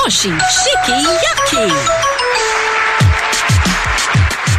Moshi Shiki Yaki.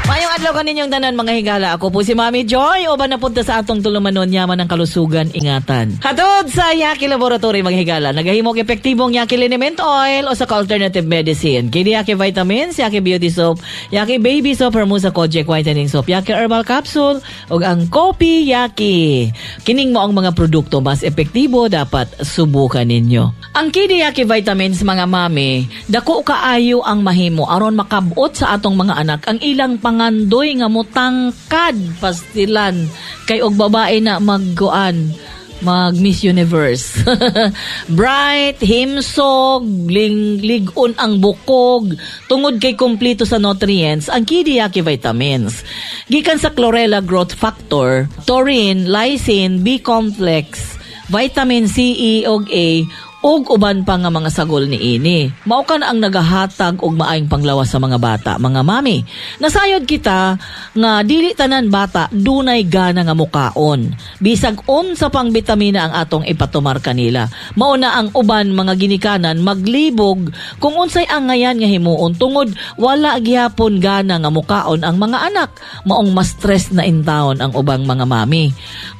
Mayong adlaw kaninyong tanan, mga higala. Ako po si Mami Joy. Uban na punta sa atong tulumanon, yaman ng kalusugan, ingatan. Hatod sa Yaki Laboratory, mga higala. Nagahimog epektibong Yaki Liniment Oil o sa alternative medicine. Kini Yaki Vitamins, Yaki Beauty Soap, Yaki Baby Soap, Hermosa Kojic Whitening Soap, Yaki Herbal Capsule, ug ang Kopi Yaki. Kining mo ang mga produkto mas epektibo, dapat subukan ninyo. Ang Kidi Yaki Vitamins, mga mami, dako kaayo ang mahimo aron makabot sa atong mga anak ang ilang pangandoy nga mutangkad pastilan kay og babae na magguan mag Miss Universe. Bright, himsog, ling, ligon ang bukog, tungod kay kompleto sa nutrients ang Kidiyaki vitamins. Gikan sa chlorella growth factor, taurine, lysine, B complex, vitamin C, E ug A ug uban pa nga mga sagol niini. Mao ka na ang nagahatag og maayong panglawas sa mga bata, mga mami. Nasayod kita nga dili tanan bata dunay gana nga mukaon. Bisag unsa pang bitamina ang atong ipatumar kanila. Mao na ang uban mga ginikanan maglibog kung unsay angayan nga himuon tungod wala gihapon gana nga mukaon ang mga anak. Maong mas stress na intawon ang ubang mga mami.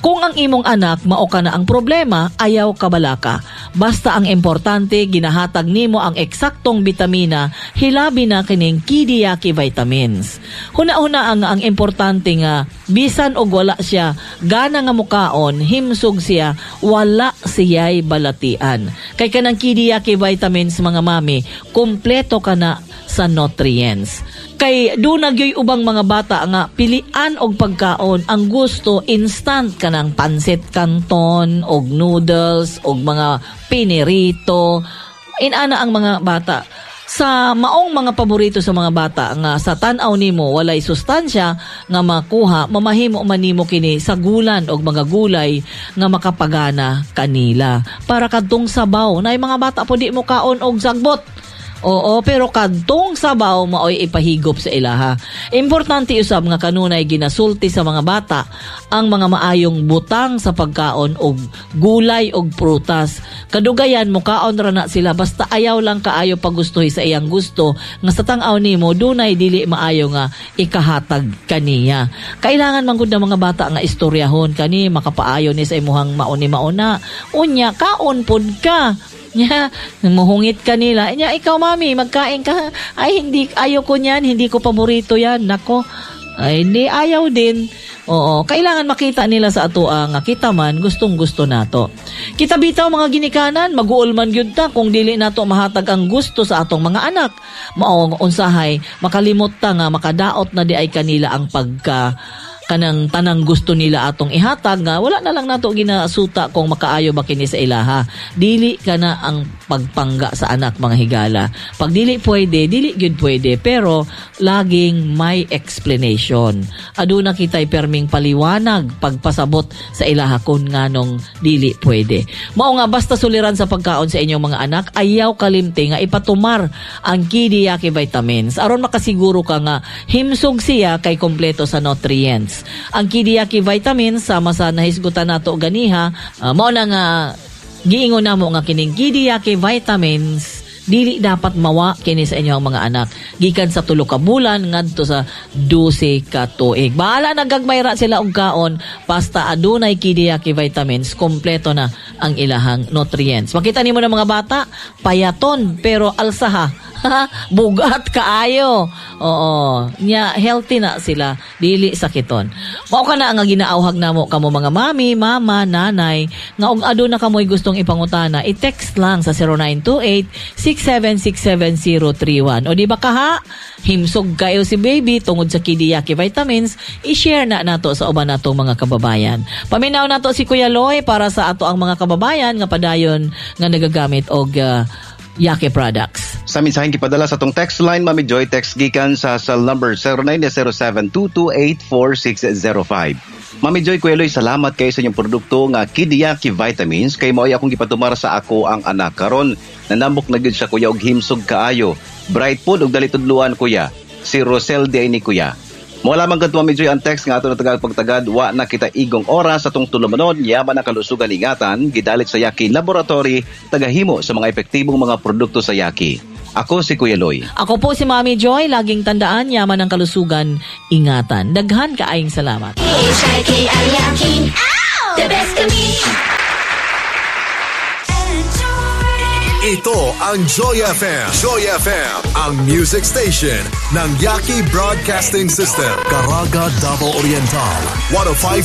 Kung ang imong anak mao ka na ang problema, ayaw kabalaka. Basta ang importante, ginahatag nimo ang eksaktong bitamina, hilabi na kining Kidiyaki vitamins. Huna-huna ang importante nga bisan og wala siya gana nga mukaon, himsog siya, wala siya'y balatian. Kay kanang Kidiyaki vitamins, mga mami, kumpleto ka na sa nutrients. Kay doon nagyoy ubang mga bata nga pilian og pagkaon, ang gusto instant kanang pansit canton og noodles og mga pinirito. Inana ang mga bata. Sa maong mga paborito sa mga bata nga sa tan-aw nimo walay sustansya nga makuha, mamahimo man nimo kini sa gulan og mga gulay nga makapagana kanila. Para kadtong sabaw, nay mga bata po di mo kaon og sagbot. Oo, pero kadtong sabaw maoy ipahigop sa ilaha. Importante usab nga kanunay ginasulti sa mga bata ang mga maayong butang sa pagkaon og gulay og prutas. Kadugayan mukaon ra na sila basta ayaw lang kaayo pagustuhi sa iyang gusto nga sa tan-aw nimo dunay dili maayo nga ikahatag kaniya. Kailangan man gud ng mga bata nga istoryahon kani makapaayo ni sa imuhang mauni mauna. Unya kaon pud ka. Nya, muhungit ka nila. Nya, ikaw mami, magkain ka. Ay, hindi, ayaw ko niyan, hindi ko paborito yan. Nako, ay, hindi, ayaw din. Oo, kailangan makita nila sa atoa nga kita man gustong gusto nato. Kita bitaw mga ginikanan, maguol man gyud ta kung dili nato mahatag ang gusto sa atong mga anak. Mao unsahay makalimot ta nga makadaot na di ay kanila ang pagka kanang tanang gusto nila atong ihatag nga wala na lang nato ginasuta kung makaayo ba kini sa ilaha. Dili kana ang pagpangga sa anak, mga higala. Pag dili pwede, dili gyud pwede, pero laging may explanation. Aduna kita'y perming paliwanag pagpasabot sa ilaha kun nganong dili pwede. Mao nga basta suliran sa pagkaon sa inyong mga anak, ayaw kalimti nga ipatumar ang Kidiyaki vitamins aron makasiguro ka nga himsog siya kay kompleto sa nutrients. Ang Kidiyaki vitamins sama sa nahisgutan nato ganiha, mao na nga giingon namo nga kining Kidiyaki vitamins dili dapat mawa kini sa inyong mga anak gikan sa 3 ka bulan ngadto sa 12 ka tuig. Bahala na gagmay ra sila og kaon basta adunay Kidiyaki vitamins, kompleto na ang ilahang nutrients. Makita nimo ng mga bata payaton pero alsaha. Bugat kaayo. Oo, nya healthy na sila, dili sakiton. Mao ka na ang ginaauhag namo kamo mga mami, mama, nanay nga og aduna kamoy gustong ipangutana, i-text lang sa 0928-6767031. O di ba kaha? Himsog kayo si baby tungod sa Kidiyaki vitamins, i-share na nato sa uban natong mga kababayan. Paminaw nato si Kuya Loy para sa ato ang mga kababayan nga padayon nga nagagamit og Yaki products. Sa mensaheng gipadala sa tong text line, Mami Joy, text gikan sa cell number 0907-228-4605. Mami Joy, Kuya Loy, salamat kayo sa inyong produkto nga Kidiyaki Vitamins kay mao'y akong gipatumar sa ako ang anak karon. Nanambok na gyud siya kuya og himsog kaayo. Bright pod og dali tudluan kuya. Si Rosel di ay ni kuya. Mo lamang kadto, Mami Joy, ang text nga ato natagad pagtagad wa na kita igong oras sa atong tulumanon, yaman ang kalusugan, ingatan, gidalit sa Yaki Laboratory, tagahimo sa mga epektibong mga produkto sa Yaki. Ako si Kuya Loy. Ako po si Mami Joy, laging tandaan, yaman ng kalusugan, ingatan. Daghan kaayong salamat. H-I-K-I-Yaki. The best kami. Ito ang Joy FM. Joy FM, ang music station ng Yaki Broadcasting System. Caraga, Davao Oriental, 105.